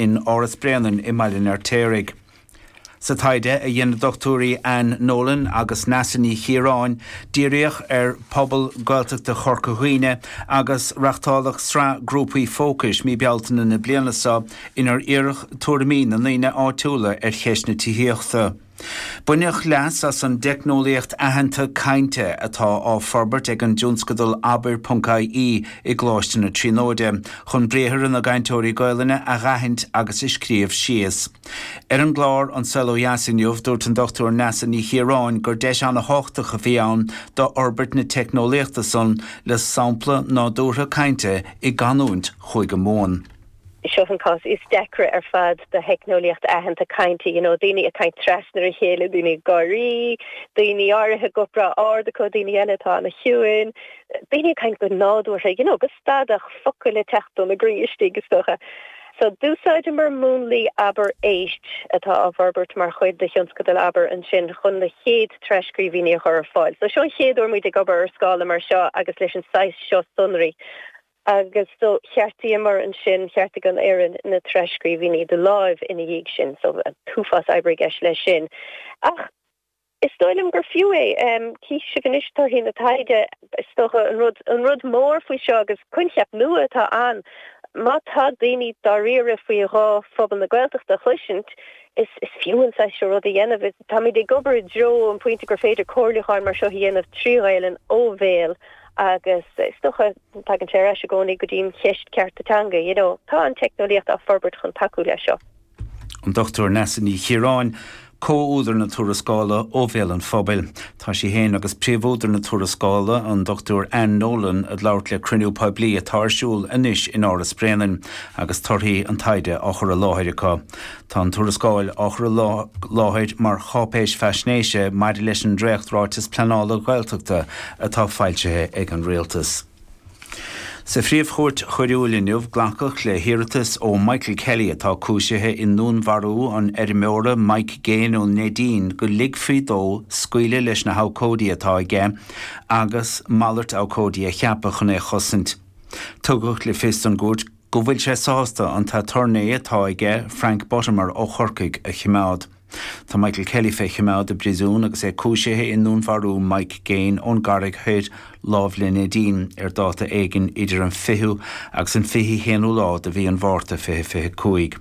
in Áras Bréanainn i mBaile an Fheirtéaraigh. Sa taighde a dhein na Dochtúirí Anne Nolan agus Neasa Ní Chiaráin, díríodh ar phobal Gaeltachta Chorca Dhuibhne agus reachtáladh sraith grúpaí fócais mí Bealtaine na bliana seo inar iarradh tuairimí na ndaoine áitiúla ar cheist na tithíochta. Baineadh leas as an dteicneolaíocht aitheanta cainte atá á forbairt ag an dtionscadal Abair.ie i gColáiste na Tríonóide chun briathra na gcainteoirí Gaolainne a dh'aithint agus a scríobh síos. Ar an gclár An Saol Ó Dheas inniu, dúirt an Dr Neasa Ní Chiaráin gur deis ana-thábhachtach a bhí ann d'fhorbairt na teicneolaíochta san le sampla nádúrtha cainte i gcanúint Chúige Mumhan. Seo an cás is deacra ar fad do theicneolaíocht aitheanta cainte, you know, daoine ag caint trasna ar a chéile, daoine ag gáirí, daoine áirithe guth breá ard acu, daoine eile atá ana-chiúin, daoine ag caint go nádúrtha, you know, go stadach, focail ag teacht óna gcroí istigh is dócha. So d'úsáideamar múnlaí Abair Éist atá á bhforbairt mar chuid de thionscadal Abair ansin chun na chéad tras-scríbhinní a chur ar fáil. So seo an chéad uair muid ag obair ar scála mar seo agus leis an saghas seo sonraí. Agus so cheartaíomar ansin, cheartaigh an fhoireann na tras-scríbhinní de láimh ina dhiaidh sin, so an t-uafás oibre i gceist leis sin. Ach is dóigh liom gur fiú é. Cífidh sibh anois torthaí na taighde. Is dócha an rud, an rud mór faoi seo agus coincheap nua atá ann, má tá daoine dáiríre faoi ghuth phobal na Gaeltachta a chloisint, is, is fiú an saghas seo rud a dhéanamh. Táimid ag obair i dtreo an phointe gur féidir comhairliúcháin mar seo a dhéanamh trí Ghaelainn ó bhéal agus is dócha, tagann sé ar ais i gcónaí go dtí an cheist cearta teanga, you know. Tá an teicneolaíocht á forbairt chun tacú leis seo. An Dr Neasa Ní Chiaráin, comh-údar na tuarascála Ó Bhéal an Phobail. Tá sí féin agus príomhúdar na tuarascála, an Dr Anne Nolan, ag labhairt le cruinniú poiblí atá ar siúl anois in Áras Bréanainn agus torthaí an taighde á chur i láthair acu. Tá an tuarascáil á chur i láthair mar cháipéis faisnéise maidir leis an dréacht-Ráiteas Pleanála Gaeltachta atá foilsithe ag an Rialtas. Sa Phríomh-Chúirt Choiriúil inniu, glacadh le hiarratas ó Michael Kelly, atá cúisithe i ndúnmharú an fheirmeora Mike Gaine ón Neidín, go ligfí dó scaoileadh leis na habhcóidí atá aige agus malairt abhcóidí a cheapadh chun é a chosaint. Tugadh le fios don gcúirt go bhfuil sé sásta an t-aturnae atá aige, Frank Buttimer ó Chorcaigh, a choimeád. Tá Michael Kelly fé choimeád i bpríosún agus é cúisithe i ndúnmharú Mike Gaine ón gCarraig Thoir, láimh le Neidín, ar dáta éigin idir an 20ú agus an 21ú lá de mhí an Mhárta 2025.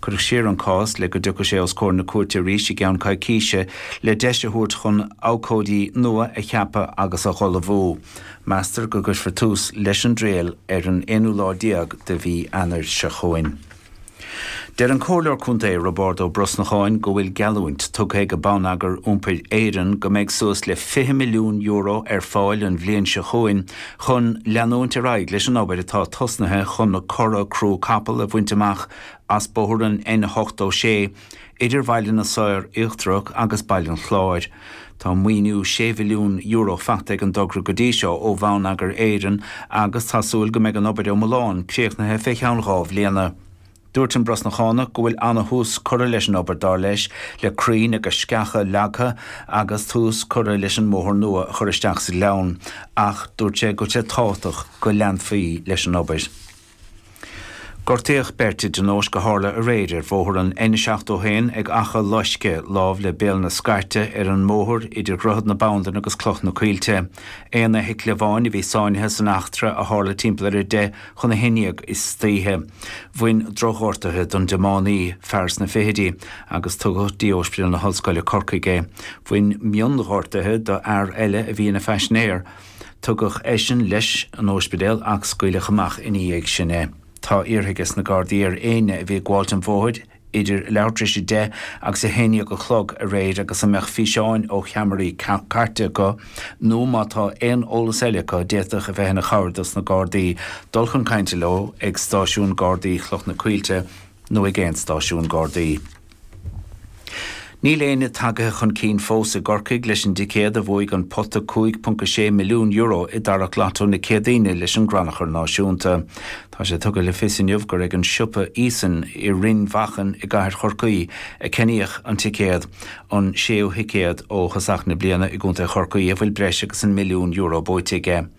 Cuireadh siar an cás le go dtiocfadh sé os comhair na cúirte arís i gceann coicíse le deis a thabhairt chun abhcóidí nua a cheapadh agus a dh'ullmhú. Meastar go gcuirfear tús leis an dtriail ar an aonú lá déag de mhí Eanáir seo chugainn. Deir an Comhairleoir Contae Roibeárd Ó Brosnacháin go bhfuil geallúint tugtha ag Bonneagar Iompair Éireann go mbeidh suas le €20 milliún ar fáil an bhliain seo chugainn chun leanúint ar aghaidh leis an obair atá tosnaithe chun na cora crú capall a bhaint amach as bóthar an N86 idir Bhaile na Saor Íochtarach agus Baile an Chláir. Tá maoiniú €6 mhilliún faighte ag an dtogra go dtí seo ó Bhonneagar Éireann agus tá súil go mbeidh an obair iomlán críochnaithe fé cheann 2 bhliana. Dúirt an Brosnachánach go bhfuil ana-thús curtha leis an obair, dar leis, le crainn agus sceacha leagtha agus tús curtha leis an mbóthar nua a chur isteach sa ghleann ach dúirt sé go bhfuil sé tábhachtach go leanfaí leis an obair. Gortaíodh beirt i dtionóisc a tharla aréir ar bhóthar an N71 ag Achadh Loiscthe, lámh le Béal na Scairte, ar an mbóthar idir Dhroichead na Bandan agus Cloch na Coillte. Aon fheithicil amháin a bhí sáinnithe san eachtra a tharla timpeall ar 10:50 istoíche. Bhain drochghortuithe don dtiománaí, fear sna fichidí, agus tugadh dtí Ospidéal na hOllscoile Corcaigh é. Bhain mionghortuithe do fhear eile a bhí ina phaisinéir. Tugadh eisean leis an óispidéal ach scaoileadh amach ina dhiaidh sin é. Tá iarrtha ages na Gardaí ar éinne a bhí ag gabháilt an bhóthair idir leathuair tar éis 10 agus 11 a chlog aréir agus a mbeadh físeáin ó cheamaraí cairte acu nó má tá aon eolas eile acu a d'fhéadfadh a bheith ina chabhair dos na Gardaí dul chun cainte leo ag Stáisiún Gardaí Chloch na Coillte nó ag aon stáisiún Gardaí. Níl éinne tagaithe chun cinn fós i gCorcaigh leis an dticéad a bhuaigh an pota €5.6 milliún i dtarrac Lotto na Céadaoine leis an gCrannchur Náisiúnta. Tá sé tugtha le fios inniu gur ag an siopa Eason i Rinn Mhachan i gcathair Chorcaí a ceannaíodh an ticéad, an séú thicéad ó thosach na bliana i gcontae Chorcaí a bhfuil breis agus an €1 milliún buaite aige.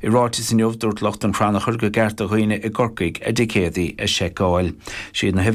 I ráiteas inniu, dúirt lucht an chrannchuir gur ceart do dhaoine i gCorcaigh a dticéadaí a sheiceáil. Siad na huimhreacha.